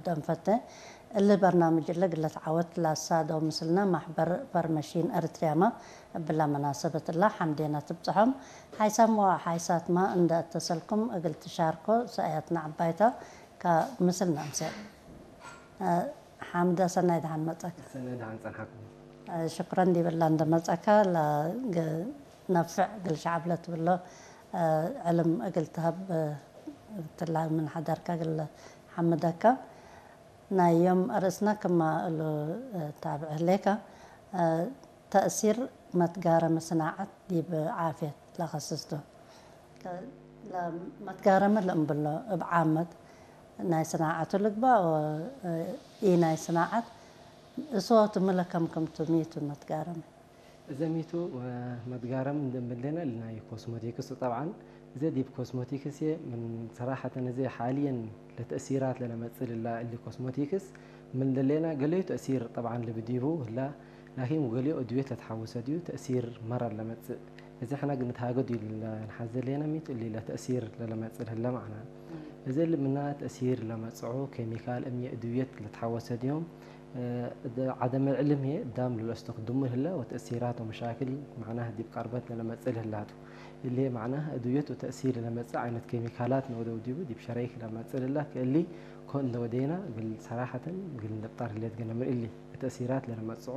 ደንፈተ እሊ በርናምጅ እለ ግለት ዓወት ላሳ ደው ምስልና ማሕበር ፈርመሺን ኤርትርያማ እብላ መናሰበት እላ ሓምዴና ትብጽሖም። ሓይሳም ወ ሓይሳትማ እንደ እተሰልኩም እግል ትሻርኮ ሰእያትና ዓባይታ ካብ ምስልና ምሰል። እ፣ ሓምደ ሰናይ ደሓን መጸካ። ሰናይ ደሓን ጸንሓኩም። እ፣ ሽክረን ዲብላ እንደ መጸካ ላ ግ-፣ ነፍዕ ግል ሸዓብ ለትብሎ፣ እ፣ ዕልም እግል ትሀብ፣ እ፣ ትላ ምን ሓደርካ ግል ሓምደካ። ናይ ዮም ርእስና ክማ እሉ፣ እ፣ ታብዕ ህሌካ፣ እ፣ ተእሲር መትጋረሚ ስናዓት ዲብ ዓፍየት ለኸስስቱ። ከ-፣ ለ-፣ መትጋረሚ ለእምብሎ እብ ዓመት ናይ ስናዓቱ ልግባእ ወ-፣ እ፣ ኢ ናይ ስናዓት እሶቱ ምለከምክምቱ ሚቱ መትጋረሚ። እዘ ሚቱ፣ እ፣ መትጋረሚ እንደምብለና ናይ ኮስሞቲክስ ጠብዓን እዘ ዲብ ኮስሞቲክስ እየ ምን ሰራሐተን እዘ ሓልየን ለተእሲራት ለለመጽእ ልላ እሊ ኮስሞቲክስ ምን ደሌና ገለዩ ተእሲር ጠብዓን ልብዲቡ ህላ ላኪን ገለዩ እድዌት ለተሓወሰ ድዩ ተእሲር መራ ለመጽእ። እዚ ሕና ግን ንትሃገዱ ኢልና ንሓዝ ደሌና ሚቱ እሊ ለተእሲር ለለመጽእ ልህለ ማዕና። እዚ ልምና ተእሲር ለመጽዑ ኬሚካል እምየ እድዌት ለተሓወሰ ድዮም፣ እ፣ ደ-፣ ዓደመ ዕልም እየ ዳም ለለስቶ ክድሙ ልህለ ወተእሲራት ወመሻክል ማዕና ዲብ ቀርበት ለለመጽእ ልህላቱ። እሊ ማዕና እድዌት ወተእሲር ለመጽእ ዓይነት ኬሚካላት ነወደው ዲቡ ዲብ ሸረይክ ለመጽእ ልላ ክእሊ ኮን ለወደይና ግል ሰራሐተን ግል ንደብጣር ህሌት ገነምን እሊ ተእሲራት ለለመጽዑ፣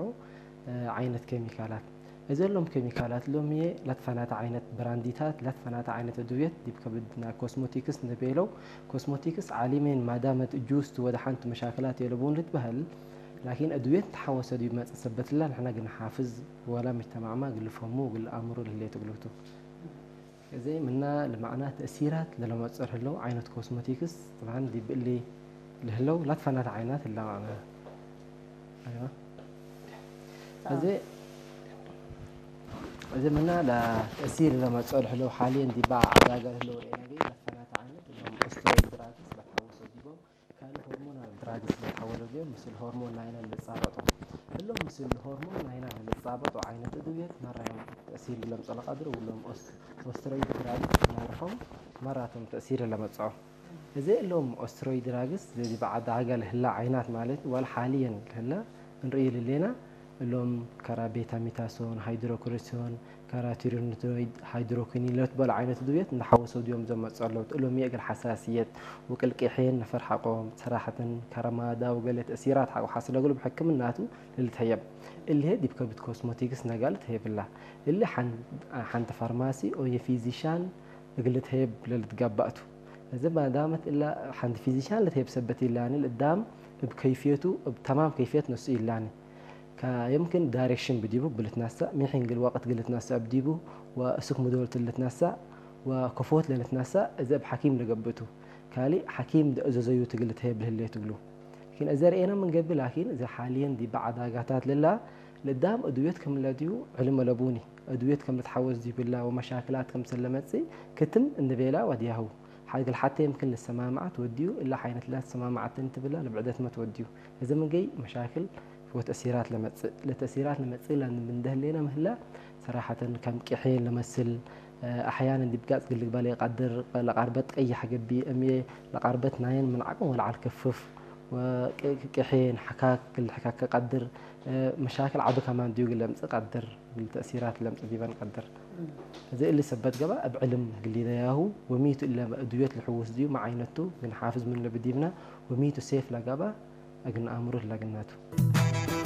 እ፣ ዓይነት ኬሚካላት። እዘሎም ኬሚካላት ሎም እየ ለትፈናተ ዓይነት ብራንዲታት ለትፈናተ ዓይነት እድዌት ዲብ ከብድ ናይ ኮስሞቲክስ ንቤለው ኮስሞቲክስ ዓሊሜን ማዳመት እጁስት ወደ ሓንቲ መሻክላት የለቡን ልትበህል። ላኪን እድዌት ተሓወሰ ዲብ መጽእ ሰበትላ ንሕና ግን ሓፍዝ ወላ ምጅተማዕማ ግልፈሙ ግል ኣእምሮ ልህሌት እግልቱ። እዚ ምና ልማዕና ተእሲራት ለለመጽር ህለው ዓይነት ኮስሞቲክስ ጥብዓን ዲብ እሊ ልህለው ላትፈናት ዓይናት ህላ ማዕና። ኣይዋ። እዚ፣ እዚ ምና ለተእሲር ለመጽኦ ልህለው ሓልየን ዲባ ዓዳጋ ልህለው ርኤና ግን ላትፈናት ዓይነት እሎም ኦስትሮይድ ድራግስ ለተሓወሶ ዲቦም ካልእ ሆርሞናል ድራግስ ለተሓወሎ ዲቦም ምስል ሆርሞን ናይና ልጻበጦ። እሎም ምስል ሆርሞን ናይና ልጻበጦ ዓይነት እድውየት ማራዮም ተእሲር ለምጸሎ ቀድር ውሎም ኦስ-፣ ኦስትሮይድ ድራግስ ማርሖም ማራቶም ተእሲር ለመጽኦ። እዚ እሎም ኦስትሮይድ ድራግስ ዘዚ በዓል ዳጋ ልህላ ዓይናት ማለት ዋል ሓልየን ልህላ እንርእይ ልሌና እሎም ከራ ቤታሚታሶን፣ ሃይድሮኮሪሶን፣ ከራ ቲሪኖይድ፣ ሃይድሮኩኒን ለትበሉ ዓይነት ድውየት እንዳሓወሰው ድዮም ዘመጸለውት እሎም የእግል ሓሳስየት ውቅልቅሔን ነፈር ሓቆም ሰራሕትን ከረማዳ ወገለ ተእሲራት ሓቆ ሓስለግሉ ብሕክምናቱ ልልተየብ እልሄ ዲብ ከብት ኮስሞቲክስ ነጋል ተየብላ። እሊ ሓን-፣ ሓንቲ ፋርማሲ ኦየ ፊዚሻን እግል ተየብ ለልትጋባእቱ። እዚ ማዳመት እላ ሓንቲ ፊዚሻን ለተየብ ሰበት ኢላኒ ልዳም እብ ከይፍየቱ እብ ተማም ከይፍየት ነሱ ኢላኒ። ከ-፣ የምክን ዳይሬክሽን ብዲቡ ብልትናሳ፣ ሚሒን ግል ወቅት ግልትናሳ ብዲቡ፣ ወእሱክ ሙዶልት ልትናሳ፣ ወከፎት ለልትናሳ፣ እዚ እብ ሓኪም ለገብእቱ። ካሊ ሓኪም ደእዘዘዩ ትግል ተየብ ልህሌ ትግሉ። ላኪን እዚ ርኤና ምንገቢ ላኪን እዚ ሓልየን ዲባ ዓዳጋታት ልላ ልዳም እድውየት ከም ለድዩ ዕልም ለቡኒ። እድውየት ከም ልትሓወስ ዲብላ ወመሻክላት ከም ስለመጽእ ክትም እንቤላ ወዲያሁ። ሓግል ሓተ የምክን ልሰማማዓት ወዲዩ እላ ሓይነት ላ ሰማማዓትን ትብላ ልብዕደት መት ወዲዩ። እዚ ምንገይ መሻክል ወተእሲራት ለመጽእ። ለተእሲራት ለመጽእ ላን ምንደህሌና ምህላ ሰራሐተን ከም ቅሔ ለመስል፣ እ፣ ኣሕያንን ዲብ ጋጽ ግልግባል የቀድር፣ ለቃርበት ቀይሕ ገቢ እምየ ለቃርበት ናየን ምን ዓቅም ወለዓል ክፍፍ፣ ወቅ-፣ ቅሔን ሓካክ ግል ሕካክ ቀድር፣ እ፣ መሻክል ዓቢ ከማን ዲዩ ግል ለምጽእ ቀድር፣ ግል ተእሲራት ለምጽእ ዲበን ቀድር። እዚ እሊ ሰበት ገባ እብ ዕልም ግሊደያሁ ወሚቱ እለ እድዮት ልሕውስ ዲዩ መዓይነቱ ግን ሓፍዝ ምን ለብዲብና ወሚቱ ሴፍ ለገባ እግን ኣእምሮ ለግናቱ።